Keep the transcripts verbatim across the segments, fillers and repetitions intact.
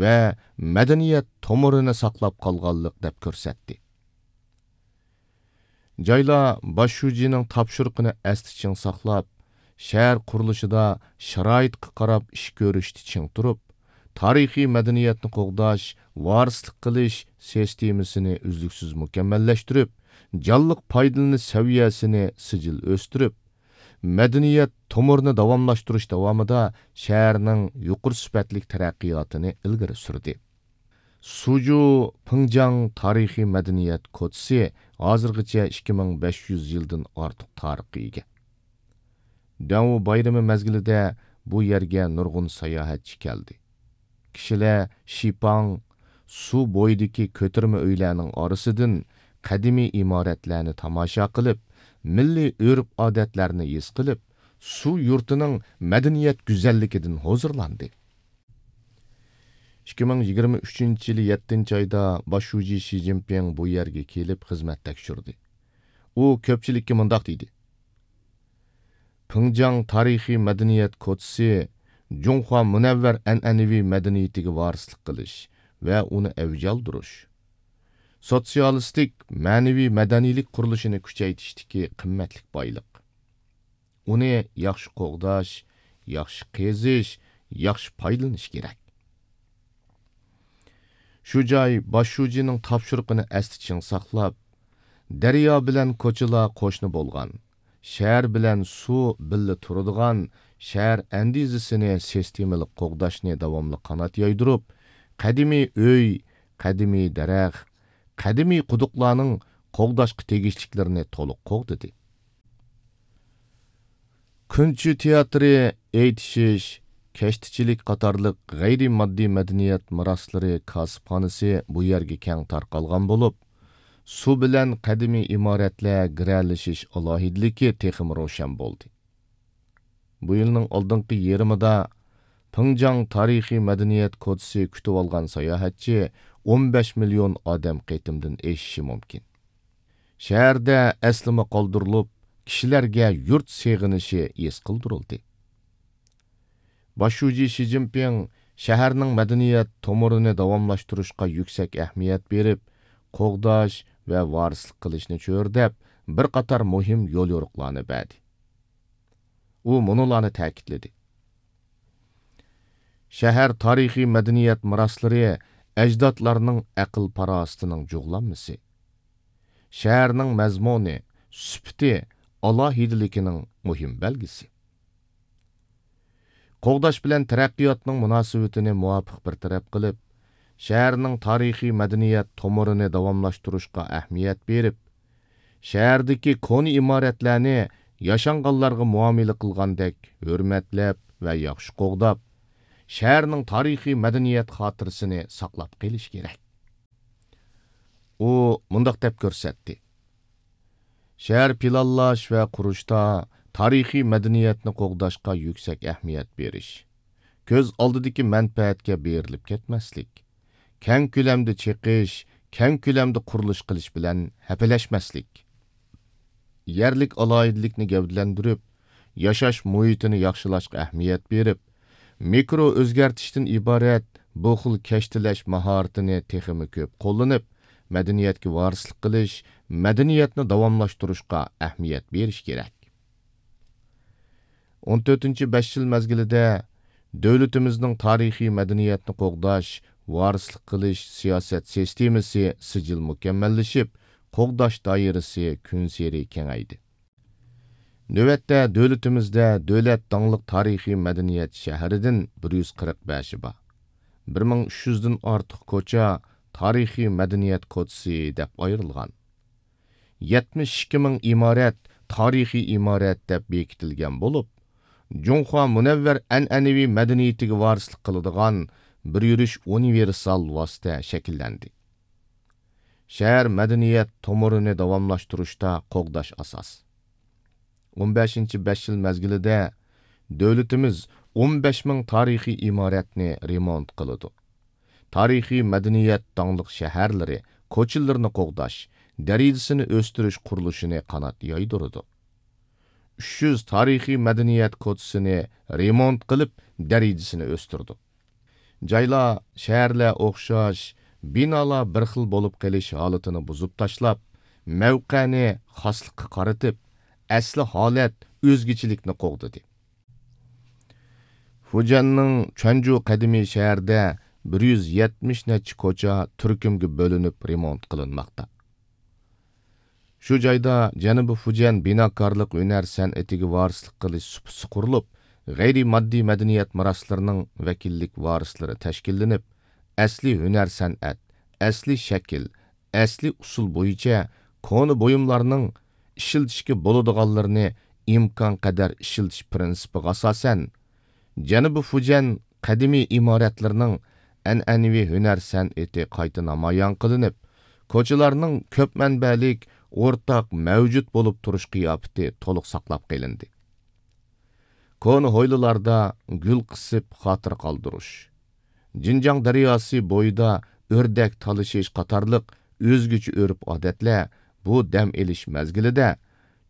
ۋە مەدەنىيەت تومۇرىنى ساقلاپ قالغانلىق دەپ كۆرسەتتى. جايلار باش شۇجىنىڭ تاپشۇرۇقىنى ئەستە چىڭ ساقلاپ، شەھەر قۇرۇلۇشىدا شارائىتقا قاراپ ئىش كۆرۈشتە چىڭ تۇرۇپ، تارىخىي مەدەنىيەتنى قوغداش، ۋارىسلىق قىلىش سىستېمىسىنى ئۈزلۈكسىز مۇكەممەللەشتۈرۈپ، جانلىق پايدىلىنىش سەۋىيەسىنى سىجىل ئۆستۈرۈپ، مەدەنىيەت تومۇرىنى داۋاملاشتۇرۇش داۋامىدا شەھەرنىڭ يۇقىرى سۈپەتلىك تەرەققىياتىنى ئىلگىرى سۈردى. سۇجۇ پىڭجاڭ تارىخىي مەدەنىيەت كوچىسى ھازىرغىچە ئىككى مىڭ بەش يۈز يىلدىن ئارتۇق تارىخقا ئىگە. دەڭۋۇ بايرىمى مەزگىلىدە بۇ يەرگە نۇرغۇن ساياھەتچى كەلدى. كىشىلەر شىپاڭ، سۇ بويىدىكى كۆتۈرمە ئۆيلەرنىڭ ئارىسىدىن قەدىمىي ئىمارەتلەرنى تاماشا قىلىپ، مىللىي ئۆرپ-ئادەتلەرنى ھېس قىلىپ، سۇ يۇرتىنىڭ مەدەنىيەت گۈزەللىكىدىن ھۇزۇرلاندى. ئىككى مىڭ يىگىرمە ئۈچىنچى يىلى يەتتىنچى ئايدا باش شۇجى شى جىنپىڭ بۇ يەرگە كېلىپ خىزمەت تەكشۈردى. ئۇ كۆپچىلىككە مۇنداق دېدى: پىڭجاڭ تارىخىي مەدەنىيەت كوچىسى جۇڭخۇا مۇنەۋۋەر ئەنئەنىۋى مەدەنىيىتىگە ۋارىسلىق قىلىش ۋە ئۇنى ئەۋج ئالدۇرۇش، سوتسىيالىستىك مەنىۋى مەدەنىيلىك قۇرۇلۇشىنى كۈچەيتىشتىكى قىممەتلىك بايلىق. ئۇنى ياخشى قوغداش، ياخشى قېزىش، ياخشى پايدىلىنىش كېرەك. شۇ جاي باش شۇجىنىڭ تاپشۇرۇقىنى ئەستە چىڭ ساقلاپ، دەريا بىلەن كوچىلار قوشنا بولغان، شەھەر بىلەن سۇ بىللە تۇرىدىغان شەھەر ئەندىزىسىنى سىستېمىلىق قوغداشنى داۋاملىق قانات يايدۇرۇپ، قەدىمىي ئۆي، قەدىمىي دەرەخ، قەدىمىي قۇدۇقلارنىڭ قوغداشقا تېگىشلىكلىرىنى تولۇق قوغدىدى. كۈنچى تىياتىرى، ئېيتىشىش، كەشتىچىلىك قاتارلىق غەيرىي ماددىي مەدەنىيەت مىراسلىرى كاسىپخانىسى بۇ يەرگە كەڭ تارقالغان بولۇپ، سۇ بىلەن قەدىمىي ئىمارەتلەر گىرەلىشىش ئالاھىدىلىكى تېخىمۇ روشەن بولدى. بۇ يىلنىڭ ئالدىنقى يېرىمىدا پىڭجاڭ تارىخىي مەدەنىيەت كوچىسى كۈتۈۋالغان ساياھەتچى ئون بەش مىليون ئادەم قېتىمدىن ئېشىشى مۇمكىن. شەھەردە ئەسلىمە قالدۇرۇلۇپ، كىشىلەرگە يۇرت سېغىنىشى ھېس قىلدۇرۇلدى. باش شۇجى شى جىنپىڭ شەھەرنىڭ مەدەنىيەت تومۇرىنى داۋاملاشتۇرۇشقا يۈكسەك ئەھمىيەت بېرىپ، قوغداش ۋە ۋارىسلىق قىلىشنى چۆرىدەپ، بىر قاتار مۇھىم يوليورۇقلارنى بەردى. ئۇ مۇنۇلارنى تەكىتلىدى: شەھەر تارىخىي مەدەنىيەت مىراسلىرى ئەجدادلارنىڭ ئەقىل-پاراسىتىنىڭ جۇغلانمىسى، شەھەرنىڭ مەزمۇنى، سۈپىتى، ئالاھىدىلىكىنىڭ مۇھىم بەلگىسى. قوغداش بىلەن تەرەققىياتنىڭ مۇناسىۋىتىنى مۇۋاپىق بىر تەرەپ قىلىپ، شەھەرنىڭ تارىخىي مەدەنىيەت تومۇرىنى داۋاملاشتۇرۇشقا ئەھمىيەت بېرىپ، شەھەردىكى كونا ئىمارەتلەرنى ياشانغانلارغا مۇئامىلە قىلغاندەك ھۆرمەتلەپ ۋە ياخشى قوغداپ، شەھەرنىڭ تارىخىي مەدەنىيەت خاتىرىسىنى ساقلاپ قېلىش كېرەك. ئۇ مۇنداق دەپ كۆرسەتتى: شەھەر پىلانلاش ۋە قۇرۇشتا تارىخىي مەدەنىيەتنى قوغداشقا يۈكسەك ئەھمىيەت بېرىش، كۆز ئالدىدىكى مەنپەئەتكە بېرىلىپ كەتمەسلىك، كەڭ كۆلەمدە چېقىش، كەڭ كۆلەمدە قۇرۇلۇش قىلىش بىلەن ھەپىلەشمەسلىك، يەرلىك ئالاھىدىلىكنى گەۋدىلەندۈرۈپ، ياشاش مۇھىتىنى ياخشىلاشقا ئەھمىيەت بېرىپ، مىكرو ئۆزگەرتىشتىن ئىبارەت بۇ خىل كەشتىلەش ماھارىتىنى تېخىمۇ كۆپ قوللىنىپ، مەدەنىيەتكە ۋارىسلىق قىلىش، مەدەنىيەتنى داۋاملاشتۇرۇشقا ئەھمىيەت بېرىش كېرەك. ئون تۆتىنچى بەش يىل مەزگىلىدە دۆلىتىمىزنىڭ تارىخىي مەدەنىيەتنى قوغداش، ۋارىسلىق قىلىش سىياسەت سىستېمىسى سىجىل مۇكەممەللىشىپ، قوغداش دائىرىسى كۈنسېرى كېڭەيدى. نۆۋەتتە دۆلىتىمىزدە دۆلەت داڭلىق تارىخىي مەدەنىيەت شەھىرىدىن بىر يۈز قىرىق بەشى بار. بىر مىڭ ئۈچ يۈزدىن ئارتۇق كوچا تارىخىي مەدەنىيەت كوچىسى دەپ ئايرىلغان. يەتمىش ئىككى مىڭ ئىمارەت تارىخىي ئىمارەت دەپ بېكىتىلگەن بولۇپ، جۇڭخۇا مۇنەۋۋەر ئەنئەنىۋى مەدەنىيىتىگە ۋارىسلىق قىلىدىغان بىر يۈرۈش ئۇنىۋېرسال ۋاسىتە شەكىللەندى. شەھەر مەدەنىيەت تومۇرىنى داۋاملاشتۇرۇشتا قوغداش ئاساس. ئون بەشىنچى بەش يىل مەزگىلىدە دۆلىتىمىز ئون بەش مىڭ تارىخىي ئىمارەتنى رېمونت قىلىدۇ. تارىخىي مەدەنىيەت داڭلىق شەھەرلىرى، كوچىلىرىنى قوغداش، دەرىجىسىنى ئۆستۈرۈش قۇرۇلۇشىنى قانات يايدۇرىدۇ. ئۈچ يۈز تارىخىي مەدەنىيەت كوچىسىنى رېمونت قىلىپ، دەرىجىسىنى ئۆستۈردۇق. جايلار شەھەرلەر ئوخشاش، بىنالار بىر خىل بولۇپ قېلىش ھالىتىنى بۇزۇپ تاشلاپ، مەۋقەنى خاسلىققا قارىتىپ، ئەسلى ھالەت، ئۆزگىچىلىكنى قوغدىدى. فۇجيەننىڭ چۈەنجۇ قەدىمىي شەھىرىدە بىر يۈز يەتمىش نەچچە كوچا تۈركۈمگە بۆلۈنۈپ رېمونت قىلىنماقتا. شۇ جايدا جەنۇبىي فۇجيەن بىناكارلىق ھۈنەر سەنئىتىگە ۋارىسلىق قىلىش سۇپىسى قۇرۇلۇپ، غەيرىي ماددىي مەدەنىيەت مىراسلىرىنىڭ ۋەكىللىك ۋارىسلىرى تەشكىللىنىپ، ئەسلىي ھۈنەر سەنئەت، ئەسلىي شەكىل، ئەسلىي ئۇسۇل بويىچە كونا بۇيۇملارنىڭ ئىشلىتىشكە بولىدىغانلىرىنى ئىمكانقەدەر ئىشلىتىش پىرىنسىپىغا ئاساسەن، جەنۇبىي فۇجيەن قەدىمىي ئىمارەتلىرىنىڭ ئەنئەنىۋى ھۈنەر سەنئىتى قايتا نامايان قىلىنىپ، كوچىلارنىڭ كۆپ مەنبەلىك، ئورتاق مەۋجۇت بولۇپ تۇرۇش قىياپىتى تولۇق ساقلاپ قېلىندى. كونا ھويلىلاردا گۈل قىسىپ خاتىرە قالدۇرۇش، جىنجاڭ دەرياسى بويىدا ئۆردەك تالىشىش قاتارلىق ئۆزگىچە ئۆرپ-ئادەتلەر بۇ دەم ئېلىش مەزگىلىدە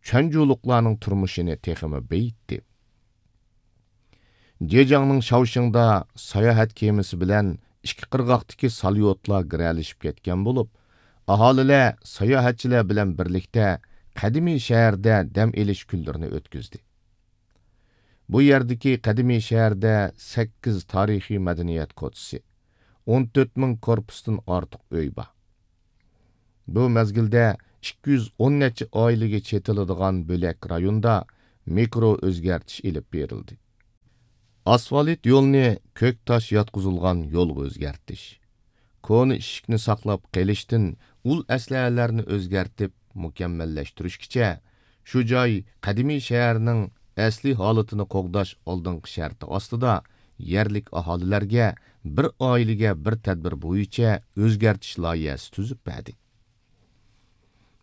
چۈەنجۇلۇقلارنىڭ تۇرمۇشىنى تېخىمۇ بېيىتتى. جېجياڭنىڭ شاۋشىڭدا ساياھەت كېمىسى بىلەن ئىككى قىرغاقتىكى ساليوتلار گىرەلىشىپ كەتكەن بولۇپ، ئاھالىلەر ساياھەتچىلەر بىلەن بىرلىكتە قەدىمىي شەھەردە دەم ئېلىش كۈنلىرىنى ئۆتكۈزدى. بۇ يەردىكى قەدىمىي شەھەردە سەككىز تارىخىي مەدەنىيەت كوچىسى، ئون تۆت مىڭ كورپۇستىن ئارتۇق ئۆي بار. بۇ مەزگىلدە ئىككى يۈز ئون نەچچە ئائىلىگە چېتىلىدىغان بۆلەك رايوندا مىكرو ئۆزگەرتىش ئېلىپ بېرىلدى. ئاسفالت يولنى كۆك تاش ياتقۇزۇلغان يولغا ئۆزگەرتىش، كونا ئىشىكنى ساقلاپ قېلىشتىن ئۇل ئەسلىھەلەرنى ئۆزگەرتىپ مۇكەممەللەشتۈرۈشكىچە، شۇ جاي قەدىمىي شەھەرنىڭ ئەسلىي ھالىتىنى قوغداش ئالدىنقى شەرتى ئاستىدا يەرلىك ئاھالىلەرگە بىر ئائىلىگە بىر تەدبىر بويىچە ئۆزگەرتىش لايىھەسى تۈزۈپ بەردى.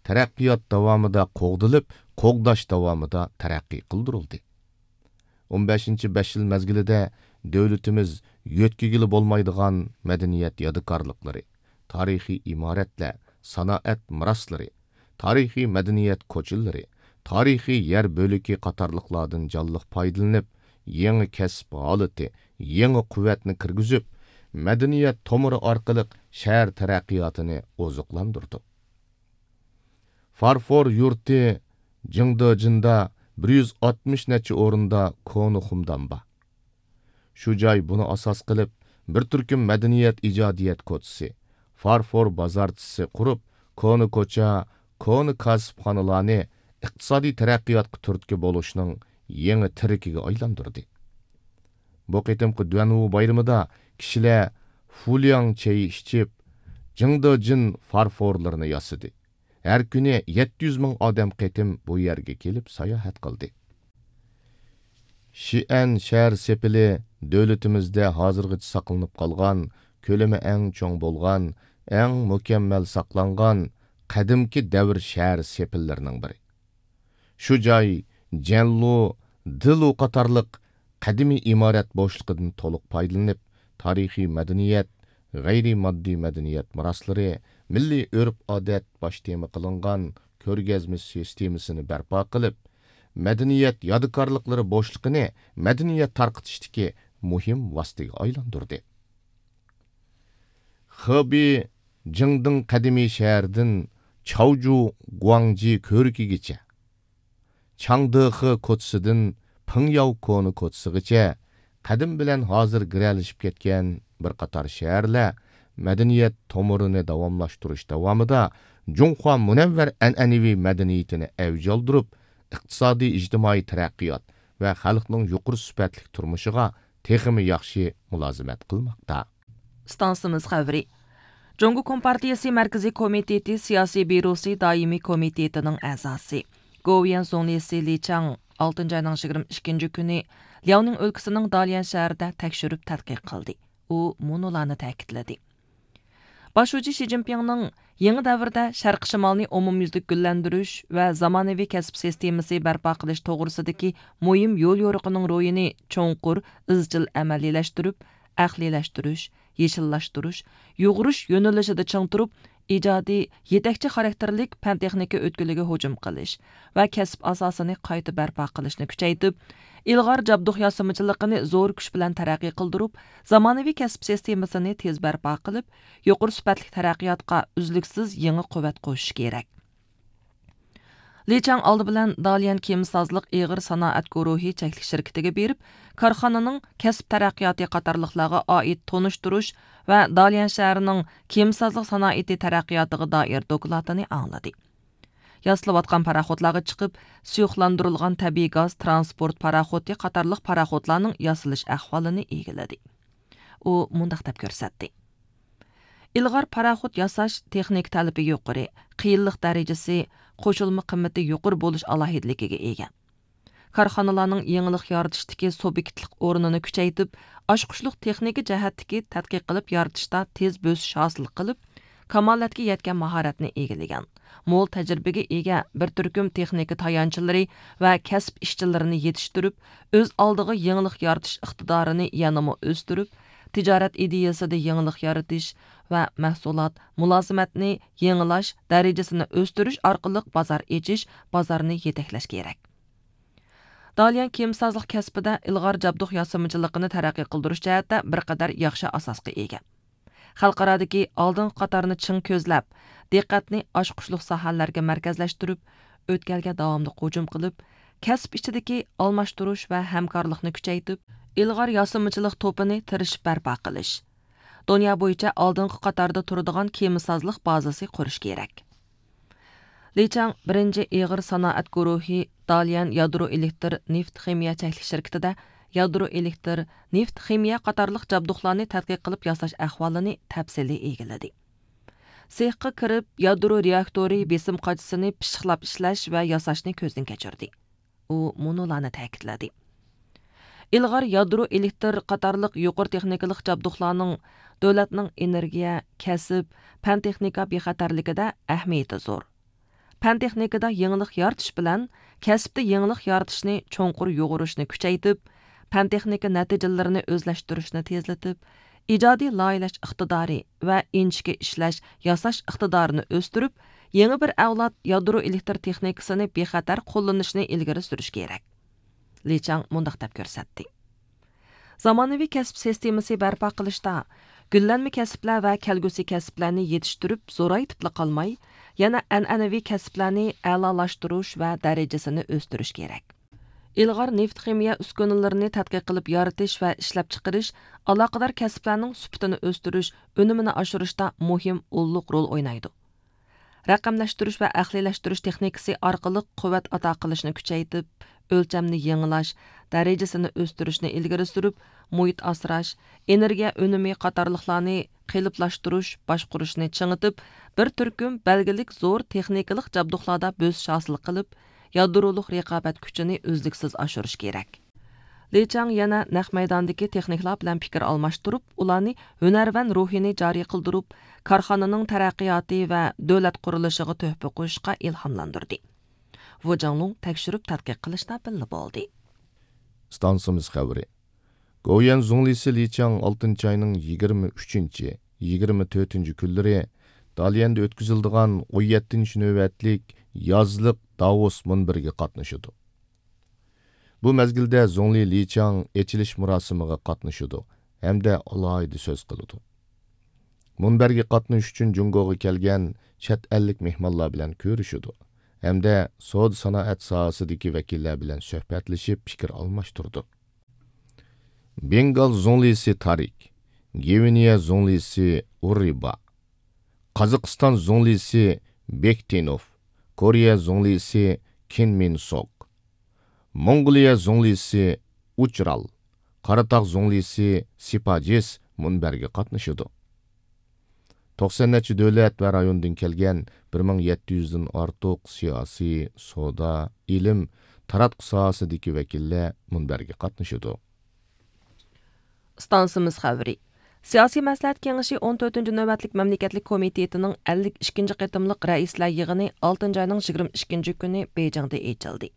تەرەققىيات داۋامىدا قوغدىلىپ، قوغداش داۋامىدا تەرەققىي قىلدۇرۇلدى. ئون بەشىنچى بەش يىل مەزگىلىدە دۆلىتىمىز يۆتكىگىلى بولمايدىغان مەدەنىيەت يادىكارلىقلىرى، تارىخىي ئىمارەتلەر، سانائەت مىراسلىرى، تارىخىي مەدەنىيەت كوچىلىرى، تارىخىي يەر بۆلىكى قاتارلىقلاردىن جانلىق پايدىلىنىپ، يېڭى كەسىپ ھالىتى، يېڭى قۇۋۋەتنى كىرگۈزۈپ، مەدەنىيەت تومۇرى ئارقىلىق شەھەر تەرەققىياتىنى ئوزۇقلاندۇردۇق. فارفور يۇرتى جىڭدېجىندا بىر يۈز ئاتمىش نەچچە ئورۇندا كونا خۇمدان بار. شۇ جاي بۇنى ئاساس قىلىپ، بىر تۈركۈم مەدەنىيەت ئىجادىيەت كوچىسى، فارفور بازارچىسى قۇرۇپ، كونا كوچا، كونا كاسىپخانىلارنى ئىقتىسادىي تەرەققىياتقا تۈرتكە بولۇشنىڭ يېڭى تىرىكىگە ئايلاندۇردى. بۇ قېتىمقى دۈەنۋۇ بايرىمىدا كىشىلەر فۇلياڭ چېيى ئىچىپ، جىڭدېجىن فارفورلىرىنى ياسىدى. ھەر كۈنى يەتتە يۈز مىڭ ئادەم قېتىم بۇ يەرگە كېلىپ ساياھەت قىلدى. شىئەن شەھەر سېپىلى دۆلىتىمىزدە ھازىرغىچە ساقلىنىپ قالغان، كۆلىمى ئەڭ چوڭ بولغان، ئەڭ مۇكەممەل ساقلانغان قەدىمكى دەۋر شەھەر سېپىللىرىنىڭ بىرى. شۇ جاي جەنلۇ، دېلۇ قاتارلىق قەدىمىي ئىمارەت بوشلۇقىدىن تولۇق پايدىلىنىپ، تارىخىي مەدەنىيەت، غەيرىي ماددىي مەدەنىيەت مىراسلىرى، مىللىي ئۆرپ-ئادەت باش تېما قىلىنغان كۆرگەزمە سىستېمىسىنى بەرپا قىلىپ، مەدەنىيەت يادىكارلىقلىرى بوشلۇقىنى مەدەنىيەت تارقىتىشتىكى مۇھىم ۋاسىتىگە ئايلاندۇردى. خېبېي جىڭدىڭ قەدىمىي شەھىرىدىن چاۋجۇ گۇاڭجى كۆۋرۈكىگىچە، چاڭدېخې كوچىسىدىن پىڭياۋ كونا كوچىسىغىچە قەدىم بىلەن ھازىر گىرەلىشىپ كەتكەن بىر قاتار شەھەرلەر مەدەنىيەت تومۇرىنى داۋاملاشتۇرۇش داۋامىدا جۇڭخۇا مۇنەۋۋەر ئەنئەنىۋى مەدەنىيىتىنى ئەۋج ئالدۇرۇپ، ئىقتىسادىي، ئىجتىمائىي تەرەققىيات ۋە خەلقنىڭ يۇقىرى سۈپەتلىك تۇرمۇشىغا تېخىمۇ ياخشى مۇلازىمەت قىلماقتا. ئىستانسىمىز خەۋىرى. جۇڭگو كومپارتىيىسى مەركىزىي كومىتېتى سىياسىي بيۇروسى دائىمىي كومىتېتىنىڭ ئەزاسى، گوۋۇيۈەن زۇڭلىسى لى چاڭ ئالتىنچى ئاينىڭ يىگىرمە ئىككىنچى كۈنى لياۋنىڭ ئۆلكىسىنىڭ داليەن شەھىرىدە تەكشۈرۈپ تەتقىق قىلدى. ئۇ مۇنۇلارنى تەكىتلىدى. باش شۇجى شى جىنپىڭنىڭ يېڭى دەۋردە شەرقىي شىمالنى ئومۇميۈزلۈك گۈللەندۈرۈش ۋە زامانىۋى كەسىپ سىستېمىسى بەرپا قىلىش توغرىسىدىكى مۇھىم يوليورۇقىنىڭ روھىنى چوڭقۇر، ئىزچىل ئەمەلىيلەشتۈرۈپ، ئەقلىيلەشتۈرۈش، يېشىللاشتۇرۇش، يۇغۇرۇش يۆنىلىشىدە چىڭ تۇرۇپ، ئىجادىي، يېتەكچى خاراكتېرلىك پەن-تېخنىكا ئۆتكىلىگە ھۇجۇم قىلىش ۋە كەسىپ ئاساسىنى قايتا بەرپا قىلىشنى كۈچەيتىپ، ئىلغار جابدۇق ياسىمىچىلىقىنى زور كۈچ بىلەن تەرەققىي قىلدۇرۇپ، زامانىۋى كەسىپ سىستېمىسىنى تېز بەرپا قىلىپ، يۇقىرى سۈپەتلىك تەرەققىياتقا ئۈزلۈكسىز يېڭى قۇۋۋەت قوشۇش كېرەك. لى چاڭ ئالدى بىلەن داليەن كېمىسازلىق ئېغىر سانائەت گۇرۇھى چەكلىك شىركىتىگە بېرىپ، كارخانىنىڭ كەسىپ تەرەققىياتى قاتارلىقلارغا ئائىت تونۇشتۇرۇش ۋە داليەن شەھىرىنىڭ كېمىسازلىق سانائىتى تەرەققىياتىغا دائىر دوكلاتىنى ئاڭلىدى. ياسىلىۋاتقان پاراخوتلارغا چىقىپ، سۇيۇقلاندۇرۇلغان تەبىئىي گاز تىرانسپورت پاراخوتى قاتارلىق پاراخوتلارنىڭ ياسىلىش ئەھۋالىنى ئىگىلىدى. ئۇ مۇنداق دەپ كۆرسەتتى: ئىلغار پاراخوت ياساش تېخنىكا تەلىپى يۇقىرى، قىيىنلىق دەرىجىسى، قوشۇلما قىممىتى يۇقىرى بولۇش ئالاھىدىلىكىگە ئىگە. كارخانىلارنىڭ يېڭىلىق يارىتىشتىكى سۇبيېكتلىق ئورنىنى كۈچەيتىپ، ئاچقۇچلۇق تېخنىكا جەھەتتىكى تەتقىق قىلىپ يارىتىشتا تېز بۆسۈش ھاسىل قىلىپ، كامالەتكە يەتكەن ماھارەتنى ئىگىلىگەن، مول تەجرىبىگە ئىگە بىر تۈركۈم تېخنىكا تايانچلىرى ۋە كەسىپ ئىشچىلىرىنى يېتىشتۈرۈپ، ئۆز ئالدىغا يېڭىلىق يارىتىش ئىقتىدارىنى يەنىمۇ ئۆستۈرۈپ، تىجارەت ئىدىيىسىدە يېڭىلىق يارىتىش ۋە مەھسۇلات، مۇلازىمەتنى يېڭىلاش دەرىجىسىنى ئۆستۈرۈش ئارقىلىق بازار ئېچىش، بازارنى يېتەكلەش كېرەك. داليەن كېمىسازلىق كەسپىدە ئىلغار جابدۇق ياسىمىچىلىقىنى تەرەققىي قىلدۇرۇش جەھەتتە بىر قەدەر ياخشى ئاساسقا ئىگە. خەلقئارادىكى ئالدىنقى قاتارنى چىڭ كۆزلەپ، دىققەتنى ئاچقۇچلۇق ساھەلەرگە مەركەزلەشتۈرۈپ، ئۆتكەلگە داۋاملىق ھۇجۇم قىلىپ، كەسىپ ئىچىدىكى ئالماشتۇرۇش ۋە ھەمكارلىقنى كۈچەيتىپ، ئىلغار ياسىمىچىلىق توپىنى تىرىشىپ بەرپا قىلىش، دۇنيا بويىچە ئالدىنقى قاتاردا تۇرىدىغان كېمىسازلىق بازىسى قۇرۇش كېرەك. لى چاڭ بىرىنچى ئېغىر سانائەت گۇرۇھى داليەن يادرو ئېلېكتر نېفىت خىمىيە چەكلىك شىركىتىدە يادرو ئېلېكتر، نېفىت خىمىيە قاتارلىق جابدۇقلارنى تەتقىق قىلىپ ياساش ئەھۋالىنى تەپسىلىي ئىگىلىدى. سېخقا كىرىپ، يادرو رېئاكتورى بېسىم قاچىسىنى پىششىقلاپ ئىشلەش ۋە ياساشنى كۆزدىن كەچۈردى. ئۇ مۇنۇلارنى تەكىتلىدى: ئىلغار يادرو ئېلېكتر قاتارلىق يۇقىرى تېخنىكىلىق جابدۇقلارنىڭ دۆلەتنىڭ ئېنېرگىيە، كەسىپ، پەن-تېخنىكا بىخەتەرلىكىدە ئەھمىيىتى زور. پەن-تېخنىكىدا يېڭىلىق يارىتىش بىلەن كەسىپتە يېڭىلىق يارىتىشنى چوڭقۇر يۇغۇرۇشنى كۈچەيتىپ، پەن-تېخنىكا نەتىجىلىرىنى ئۆزلەشتۈرۈشنى تېزلىتىپ، ئىجادىي لايىھەلەش ئىقتىدارى ۋە ئىنچىكە ئىشلەش، ياساش ئىقتىدارىنى ئۆستۈرۈپ، يېڭى بىر ئەۋلاد يادرو ئېلېكتر تېخنىكىسىنى بىخەتەر قوللىنىشنى ئىلگىرى سۈرۈش كېرەك. لى چاڭ مۇنداق دەپ كۆرسەتتى: زامانىۋى كەسىپ سىستېمىسى بەرپا قىلىشتا، گۈللەنمە كەسىپلەر ۋە كەلگۈسى كەسىپلەرنى يېتىشتۈرۈپ زورايتىپلا قالماي، يەنە ئەنئەنىۋى كەسىپلەرنى ئەلالاشتۇرۇش ۋە دەرىجىسىنى ئۆستۈرۈش كېرەك. ئىلغار نېفىت خىمىيە ئۈسكۈنىلىرىنى تەتقىق قىلىپ يارىتىش ۋە ئىشلەپچىقىرىش ئالاقىدار كەسىپلەرنىڭ سۈپىتىنى ئۆستۈرۈش، ئۈنۈمىنى ئاشۇرۇشتا مۇھىم ئۇللۇق رول ئوينايدۇ. رەقەملەشتۈرۈش ۋە ئەقلىيلەشتۈرۈش تېخنىكىسى ئارقىلىق قۇۋۋەت ئاتا قىلىشنى كۈچەيتىپ، ئۆلچەمنى يېڭىلاش، دەرىجىسىنى ئۆستۈرۈشنى ئىلگىرى سۈرۈپ، مۇھىت ئاسراش، ئېنېرگىيە ئۈنۈمى قاتارلىقلارنى قېلىپلاشتۇرۇش، باشقۇرۇشنى چىڭىتىپ، بىر تۈركۈم بەلگىلىك زور تېخنىكىلىق جابدۇقلاردا بۆسۈش ھاسىل قىلىپ، يادرولۇق رىقابەت كۈچىنى ئۈزلۈكسىز ئاشۇرۇش كېرەك. لى چاڭ يەنە نەق مەيداندىكى تېخنىكلار بىلەن پىكىر ئالماشتۇرۇپ، ئۇلارنى ھۈنەرۋەن روھىنى جارى قىلدۇرۇپ، كارخانىنىڭ تەرەققىياتى ۋە دۆلەت قۇرۇلۇشىغا تۆھپە قوشۇشقا ئىلھاملاندۇردى. ۋۇ جاڭلۇڭ تەكشۈرۈپ تەتقىق قىلىشتا بىللە بولدى. ئىستانسىمىز خەۋىرى. گوۋۇيۈەن زۇڭلىسى لى چاڭ ئالتىنچى ئاينىڭ يىگىرمە ئۈچىنچى، يىگىرمە تۆتىنچى كۈنلىرى داليەندە ئۆتكۈزۈلىدىغان ئون يەتتىنچى نۆۋەتلىك يازلىق داۋوس مۇنبىرىگە قاتنىشىدۇ. بۇ مەزگىلدە زۇڭلى لى چاڭ ئېچىلىش مۇراسىمىغا قاتنىشىدۇ ھەمدە ئالاھىدە سۆز قىلىدۇ. مۇنبەرگە قاتنىشىش ئۈچۈن جۇڭگوغا كەلگەن چەت ئەللىك مېھمانلار بىلەن كۆرۈشىدۇ ھەمدە سودا سانائەت ساھەسىدىكى ۋەكىللەر بىلەن سۆھبەتلىشىپ پىكىر ئالماشتۇرىدۇ. بېنگال زۇڭلىسى تارىك، گۋىنېيە زۇڭلىسى ئۇررىبا، قازاقىستان زۇڭلىسى بېكتىنوف، كورېيە زۇڭلىسى كىن مىن سوك، موڭغۇلىيە زۇڭلىسى ئۇچرال، قاراتاغ زۇڭلىسى سىپاجىس مۇنبەرگە قاتنىشىدۇ. توقسان نەچچە دۆلەت ۋە رايوندىن كەلگەن بىر مىڭ يەتتە يۈزدىن ئارتۇق سىياسىي، سودا، ئىلىم، تاراتقۇ ساھەسىدىكى ۋەكىللەر مۇنبەرگە قاتنىشىدۇ. ئىستانسىمىز خەۋىرى. سىياسىي مەسلىھەت كېڭىشى ئون تۆتىنچى نۆۋەتلىك مەملىكەتلىك كومىتېتىنىڭ ئەللىك ئىككىنچى قېتىملىق رەئىسلەر يىغىنى ئالتىنچى ئاينىڭ يىگىرمە ئىككىنچى كۈنى بېيجىڭدا ئېچىلدى.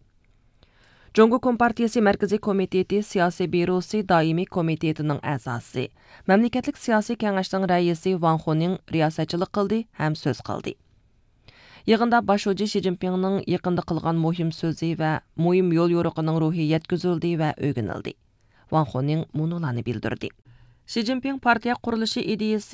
جۇڭگو كومپارتىيىسى مەركىزىي كومىتېتى سىياسىي بيۇروسى دائىمىي كومىتېتىنىڭ ئەزاسى، مەملىكەتلىك سىياسىي كېڭەشنىڭ رەئىسى ۋاڭ خۇنىڭ رىياسەتچىلىك قىلدى ھەم سۆز قىلدى. يىغىندا باش شۇجى شى جىنپىڭنىڭ يېقىندا قىلغان مۇھىم سۆزى ۋە مۇھىم يول يورۇقىنىڭ روھى يەتكۈزۈلدى ۋە ئۆگىنىلدى. ۋاڭ خۇنىڭ مۇنۇلارنى بىلدۈردى. شى جىنپىڭ پارتىيە قۇرۇلۇشى ئىدىيىسى